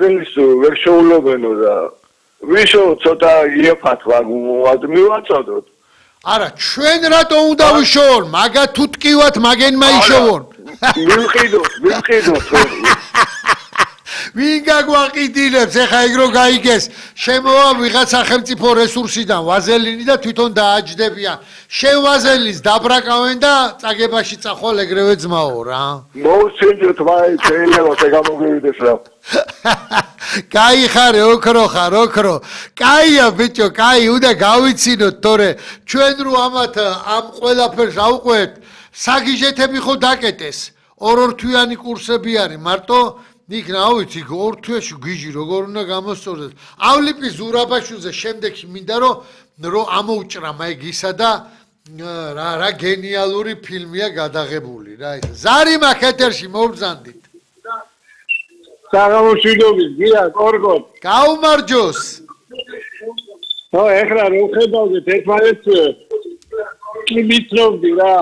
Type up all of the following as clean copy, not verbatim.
ვაზელის ვერ შეულობენო და ვიშო ცოტა იაფათ მივაწოდოთ. არა, ჩვენ რატო უნდა ვიშოვონ? მაგა თუ ტკივათ მაგენმა იშოვონ. მივყიდოთ. ვინ გაგვაყიდინებს ეხა ეგ რო გაიგეს შემოვა ვიღაც სახელმწიფო რესურსიდან ვაზელინი და თვითონ დააჯდებიან შენ ვაზელინს დაბრაკავენ და წაგებაში წახვალ ეგრევე ძმაო რა მოусინჯოთ ვაი შეიძლება შეგამოგივიდეს რა კაი ხარ ოქრო კაია ბიჭო კაი უნდა გავიცინოთ თორე ჩვენ რო ამათ ამ ყველაფერს ავყვეთ საგიჟეთები ხო დაკეტეს ორ თვიანი კურსები არის მარტო იქ ნავიცი ორ თვეში გიჟი როგორ უნდა გამოსწორდეს ავლიპის ზურაბაშვილზე შემდეგი მინდა რომ ამოუჭრა მაგისა და რა გენიალური ფილმია გადაღებული რა ეს ზარი მაკეთერში მოვბრძანდით საღამოშვიდობის გია კორგოთ გაუმარჯოს ხო ეხლა რო ხედავდეთ ერთმანეთს კი მიცნობდი რა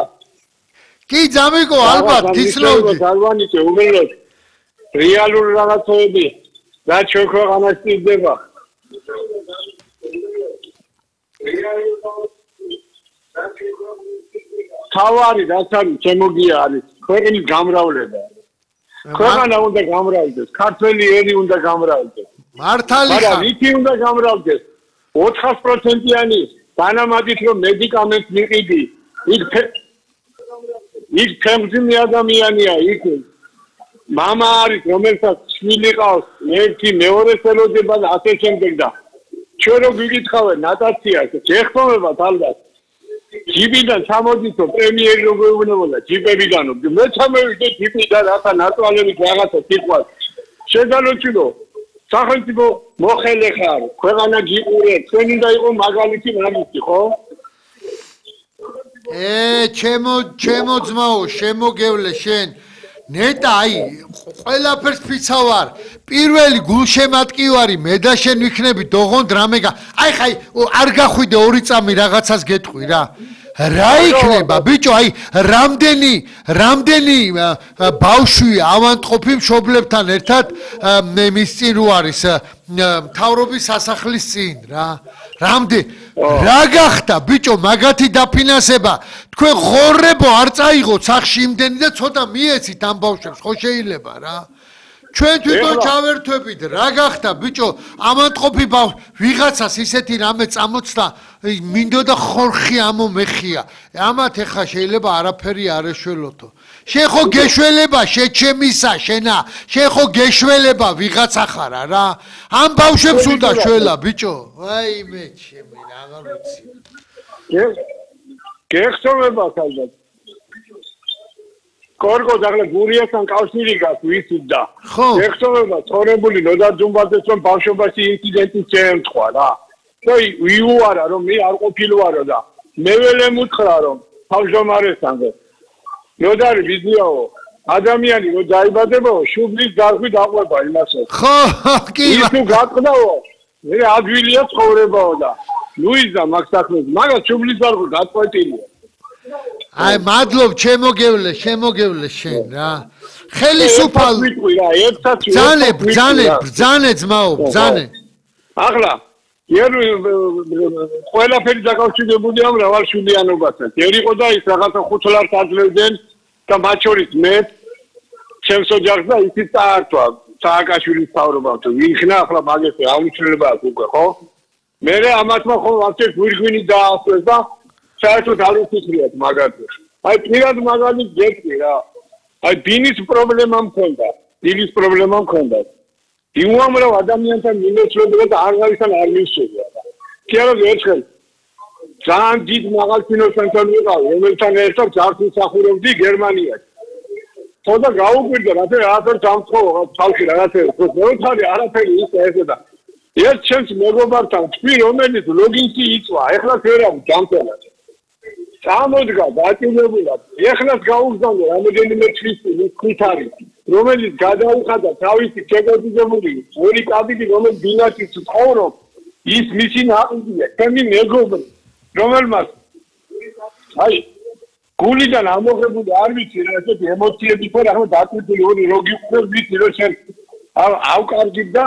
კი ძამიკო ალბათ გიცნობდი ალბანიცე უბრალოდ რეალური რაღაცები რაც ჩვენ ქვეყანას სჭირდება თავარი რაც არის შემოგია არის ქვეყნის გამრავლება ქვეყანა უნდა გამრავლდეს ქართველი ერი უნდა გამრავლდეს მართალი ხარ მაგრამ ვითი უნდა გამრავლდეს 400%-იანი დანამატით რომ მედიკამენტს მიყიდი იქ ფემძიმი ადამიანია იქ მამა არის რომელსაც შვილი ყავს ერთი მეორე ხელოდება და ასე შემდეგ და ჩვენ რო გიგითხავენ ნატაციას შეხტომებათ ალბათ ჯიბიდან ჩამოდითო პრემიერი რო გვეუბნებოდა ჯიბებიდანო მე ჩამოვიდე ჯიბიდან რათა ნატვალებით რაღაცა სიტყვას შეგალოჩილო სახელმწიფო მოხელე ხარ ქვეყანა გიყურეთ ჩვენ უნდა იყო მაგალითი მაგისი ხო ჩემო ძმაო შემოგევლე შენ ნეტა აი ყველაფერს ფიცავარ პირველი გულშემატკივარი მე და შენ ვიქნები დოღონდ რამეგა აი ხაი არ გახვიდე ორი წამი რაღაცას გეტყვი რა იქნება ბიჭო აი რამდენი ბავშვი ავანტყოფი მშობლებთან ერთად მის წინ რო არის მთავრობის სასახლის წინ რა რა გახდა ბიჭო მაგათი დაფინანსება თქვენ ღორებო არ წაიღოთ სახში იმდენი და ცოტა მიეცით ამ ბავშვებს ხო შეიძლება რა ჩვენ თვითონ ჩავერთვებით რა გახდა ბიჭო ამანტყოფი ვიღაცას ისეთი რამე წამოწდა მინდოდა ხორხი ამომეხია ამათ ეხა შეიძლება არაფერი არ ეშველოთო შენ ხო გეშველება შეჩემისა შენა შენ ხო გეშველება ვიღაცა ხარა რა ამ ბავშვებს უნდა შველა ბიჭო ვაიმე ჩემი აღარ ვიცი გეხსოვება ალბათ კორგო დაღლა გურიასთან კავშირი გაქვს ვიცუდა გეხსოვება თორებული ნოდა ძუმბაძეს რომ ბავშვობაში ინციდენტი შეემთხვა რა და ვიუარა რომ მე არ ყოფილვარო და მე ველე მუთხრა რომ თავმჯდომარესთან ნოდარი ვიზიაო ადამიანი რო დაიბადებაო შუბლის დარღვი დაყვება იმასო ხო კი ის თუ გაყდაო მე ადვილია ცხოვრებაო და ლუიზა მაგ საქმეს მაგას შუბლის დარღვი გაწყვეტილია აი მადლობ შემოგევლე შენ რა ხელისუფალ ბრძანე ძმაო ბრძანე ახლა ყველაფერი დაკავშირებულია მრავალშვილიანობასთან ვერ იყო და ის რაღაცა 5 ლარს აძლევდნენ და მათ შორის მე ჩემს ოჯახს და ისიც წაართვა სააკაშვილის მთავრობამ ვიხნა ახლა მაგას აუცილებლობა აქვს უკვე ხო მე ამათმა ხო ვაფშე გვირგვინი დაასვეს და საერთოდ არ უცხრიათ მაგათს აი პირად მაგალითს გეტყვი რა აი ბინის პრობლემა მქონდა დილის პრობლემა მქონდა იუამრავ ადამიანთან მიმოწვევა და აღარისთან არ მისვედა კი არა ერთხელ ძალიან დიდ მაღალფინანსთან ვიყავ რომელთან ერთად ძარცულ მსახურობდი გერმანიაში ხოდა გაუკვირდა რაღაცა დამწყოვა თავში რაღაცა ხოთარი არაფერი ის ესედა ერთ ჩემს მეგობართან თქვი რომელიც ლოგინსი იწვა ეხლა ვერავ დამწელა გამოდგა დაწინებულად ეხლაც გაუგზავნე რამოდენიმე თვის ხუთარი რომელიც გადაუხადა თავისი შეგოძებული ორი კაბინი რომელიც ბინაშიც ცხოვრობს ის მისი ნაყიდია ჩემი მეგობრი რომელმაც აი გულიდან ამოღებული არ ვიცი რა ესეთი ემოციები ხო რა დაწინებული ორი როგი უყურებს ვიცი რომ შენ ავკარგებ და